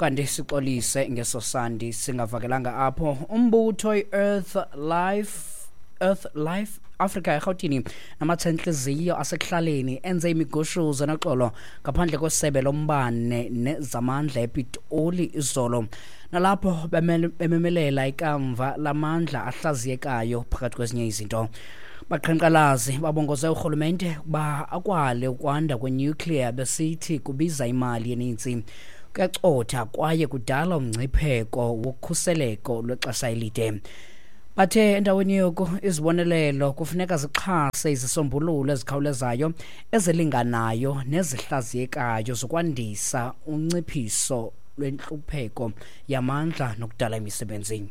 Kanti sixolise ngeso sandi singavakelanga apho. Umbutho i-Earth Life, Earth Life Africa eRhawutini namatsha-ntliziyo asekuhlaleni enze imigushuzo noxolo ngaphandle kwesebe lombane nezamandla ePitoli izolo, nalapho bememelela ikamva lamandla ahlaziyekayo phakathi kwezinye izinto. Baqhankqalazi babongoze urhulumente ukuba akwale ukwanda kwenuclear, besithi kubiza imali eninzi, kuyacotha kwaye kudala umngcipheko wokhuseleko lwexesha elide. Bathe endaweni yoko izibonelelo kufuneka zixhase izisombululo ezikhawulezayo, ezilinganayo nezihlaziyekayo zokwandisa unciphiso lwentlupheko yamandla nokudala imisebenzi.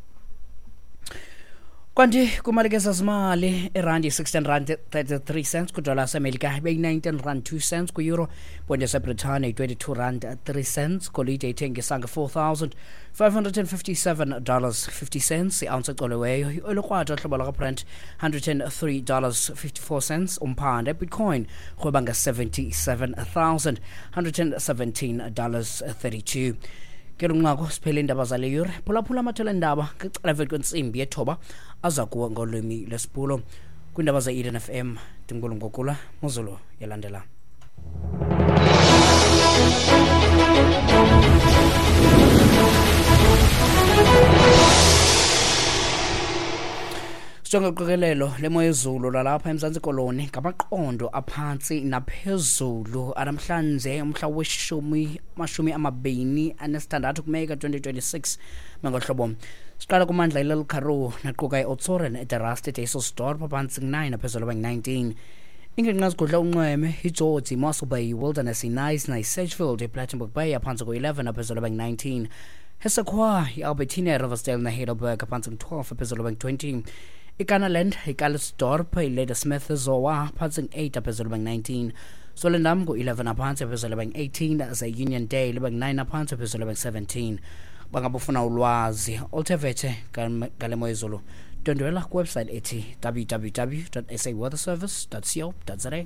Kanti kwimalike zezimali, irandi yi-16 rand 33 cents kwidola yasemelika, ibeyi-19 rand 2 cents kwi-euro, ponde yaseBritane yi-22 rand 3 cents, golide ithengisa nge-$4,557 50 cents i-ounce ecoliweyo, i-oil hlobo lwakwaBrent $103 54 cents umphanda, bitcoin rhweba nge-$77,117 32. Ke lunqaku siphele iindaba zale yure. Phulaphula amathole endaba ngecala emveni kwentsimbi yethoba, aza kuwe ngolwimi lwesiBhulo. Kwiindaba ze-Eden FM, ndingulu ngokula muzulu yalandela. Sijonge uqikelelo lemo yezulu lalapha eMzantsi Koloni ngamaqondo aphantsi naphezulu anamhlanje, umhla weshumi 26 kuMeyi ka-2026. Mengohlobo siqala kumandla iLittle Karoo naquka i-Oudtshoorn, eDe Rust, eDysselsdorp, phantsi ku-9, aphezulu abangu-19. Ingingqi ezigudla unxweme iGeorge, iMossel Bay, iWilderness, iKnysna, iSedgefield, iPlettenberg Bay, aphantsi ku-11, aphezulu abangu-19. Hessequa, iAlbertina, iRiversdale neHeidelberg, aphantsi ku-12, aphezulu abangu-20. IKannaland, iCalitzdorp, iLadysmith, Zoar, phantsi ku-8, aphezulu abangu-19. Swellendam ngu-11 aphantsi, aphezulu abangu-18, ze Uniondale ibe ngu-9 aphantsi, aphezulu abangu-17. Bangabufuna ulwazi oluthe vetshe ngale mo yezulu, ndwendwela kwiwebsite ethi www saweatherservice co za.